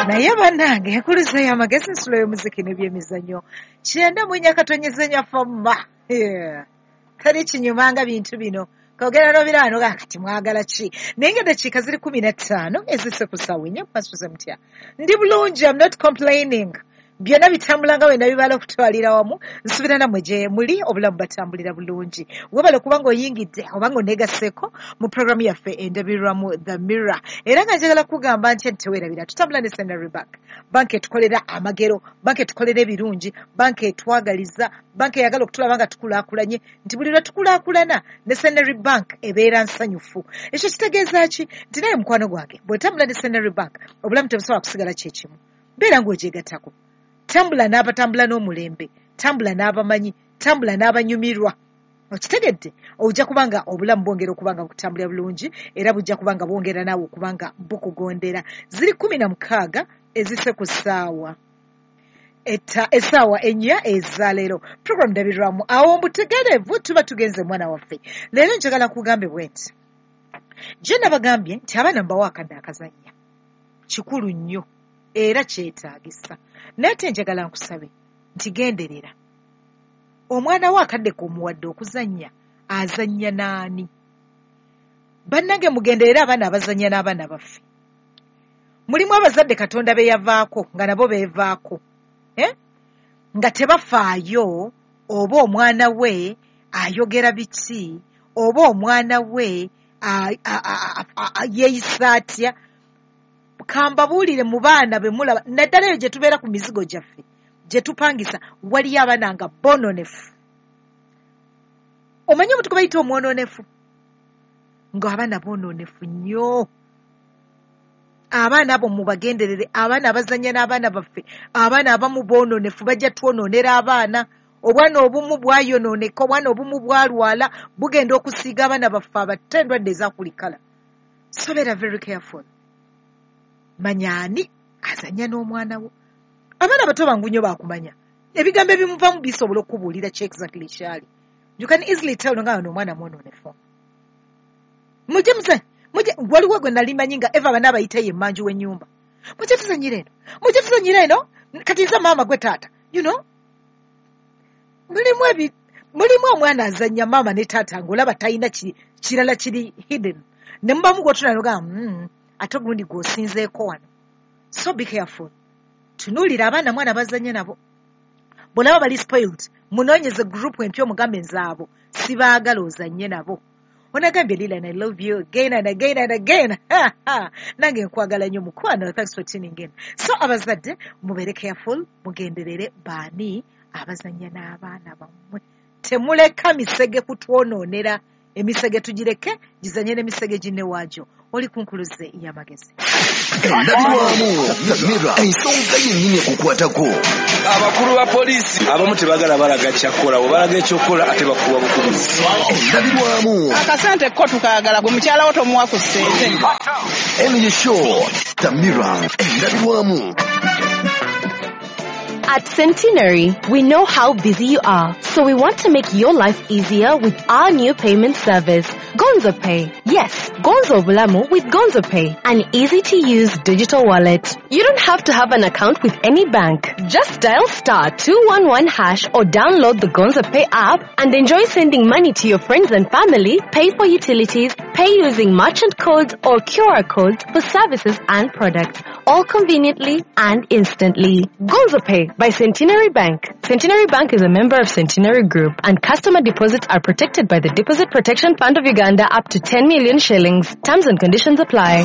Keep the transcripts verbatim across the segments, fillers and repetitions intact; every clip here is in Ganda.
Naye bannange, enkuluze y'amagezi, nsulo y'omuziki n'ebyemizannyo, kyenda mu nnya katonyeze nyafoma. Teri kinyumanga bintu bino kogera n'obiraano ga kati mwagala ki? Naye nga eddakiika ziri kumi na ttaano ezisse ku ssaawa ennya. Mumasuze mutya? Ndi bulungi, I'm not complaining. Byonna bitambula nga wena bibala okutwalira wamu. Nsuubira nammwe gye muli obulamu batambulira bulungi. Webale kubanga oyingidde obanga oneegasseeko mu programu yaffe Endabirwamu, The Mirror. Era nga njagala kugamba nti teweerabira, tutambula ne Centenary Bank, banka etukolera amagero, banka etukolera ebirungi, banka etwagaliza, banka eyagala okutulaba nga tukulaakulanye, nti buli lwe tukulaakulana ne Centenary Bank ebeera nsanyufu. Ekyo kitegeeza ki? Nti naye mukwano gwange, bw'otambula ne Centenary Bank obulamu tebusobola kusigala kyekimu. Beera ng'ogyegattako, tambula n'abatambula n'omulembe, tambula n'abamanyi, tambula n'abanyumirwa. Okitegedde? Ojja kubanga obulamu bwongera okuba nga bukutambulira bulungi, era bujja kuba nga bwongera naawe okuba nga bukugondera. Ziri kumi na mukaaga ezise ku ssaawa essaawa ennya ezaleero. Program Ndabirwamu. Awo mbutegeerevu tuba tugenze. Mwana waffe, leero njagala kugambe bwe nti gye nabagambye nti abaana mbawo akadde akazannya kikulu nnyo era kyetaagisa, naye ate njagala nkusabe nti genderera omwana wo akadde k'omuwadde okuzannya, azannya n'ani? Bannange, mugenderere abaana abazannya n'abaana baffe. Mulimu abazadde Katonda be yavaako nga nabo beevaako, eh? Nga tebafaayo oba omwana we ayogera biki oba omwana we yeeyisa atya. Kambabuulire, mu baana be mulaba, naddala eyo gye tubeera ku mizigo gyaffe gye tupangisa, waliyo abaana nga bononefu. Omanyi omuntu gwe bayita omwononefu? Ng'abaana boononefu nnyo. Abaana abo mubagenderere, abaana abazannya n'abaana baffe. Abaana abamu boononefu, bajja twonoonera abaana. Obwana obumu bwayonooneka, obwana obumu bwalwala, bugenda okusiiga abaana baffe abato endwadde ezakulikala. So beera very careful, manya ani azannya n'omwana wo. Abaana abato bangu nnyo bakumanya, ebigambo ebimuvamu bisobola okubuulira ki exactly kyali. You can easily tell nga ono omwana mwonoonefu. Mujje muzanye, mujje. Waliwo gwe nali manyi nga eva bana abayita ye emmanju w'ennyumba, "Mujje tuzanyire eno, mujje tuzanyire eno, kati nze maama, gwe taata." You know, mulimu ebi mulimu omwana azannya maama ne taata ng'olaba talina kirala kiri hidden, ne mubamu gw'otuna nogamba, mm, ate ogundi gw'osinzeeko wano." So be careful, tunuulira abaana mwana bazannya nabo. Bw'olaba bali spoiled, munoonyeze group empya, omugambe, "Nzaabo sibaagala ozannye nabo." Onagambye, "Lilian, I love you again and again and again." Nange nkwagala nnyo, mukwano. Thanks for tuning in. So abazadde mubeere careful, mugenderere baani abazannya n'abaana bammwe. Temuleka misege kutwonoonera. Emisege tugireke gizanye n'emisege ginne waagyo. Oli ku Nkuluze y'Amagezi. Endabirwamu, Mirror, ensonga yennyini ekukwatako. Abakulu ba poliisi abamu tebagala balaga kyakukola, bwe balaga ekyokukola ate bakuwa bukubizi. Endabirwamu. Akasente ko tukaagala, gwe mukyala wo tomuwa ku ssente. Eno ye show The Mirror, Endabirwamu. At Centenary, we know how busy you are, so we want to make your life easier with our new payment service, Gonzo Pay. Yes, Gonzo Bulamu with Gonzo Pay, an easy to use digital wallet. You don't have to have an account with any bank. Just dial star two one one hash or download the Gonzo Pay app and enjoy sending money to your friends and family, pay for utilities, pay using merchant codes or Q R codes for services and products, all conveniently and instantly. Gonzo Pay by Centenary Bank. Centenary Bank is a member of Centenary Group, and customer deposits are protected by the Deposit Protection Fund of Uganda up to ten million shillings. Terms and conditions apply.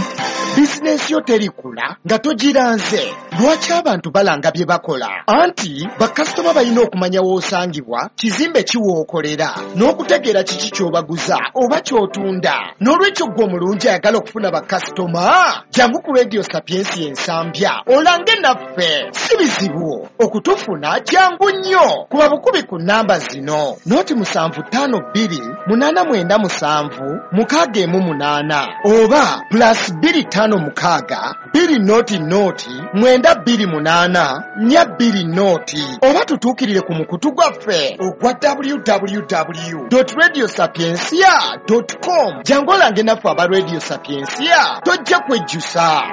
Bizinensi yo terikula nga togiranze. Lwaki abantu balanga bye bakola? Anti bakasitoma balina okumanya w'osangibwa, kizimbe kiwookolera, n'okutegeera kiki ky'obaguza oba ky'otunda. N'olwekyo ggwe omulungi ayagala okufuna bakasitoma, jangu ku Radio Sapiensia Ensambya olange naffe. Si bizibu okutufuna, jangu nnyo. Kuba bukubi ku namba zino: noti musanvu ttaano bbiri munaana mwenda musanvu mukaaga emu munaana oba plus bbiri ttaano mukaaga bbiri noti noti mwenda bbiri munaana nnya bbiri noti, oba tutuukirire ku mukutu gwaffe ogwa W W W radio sapiencia com. Jangu olange naffe aba Radio Sapiencia, tojja kwejjusa.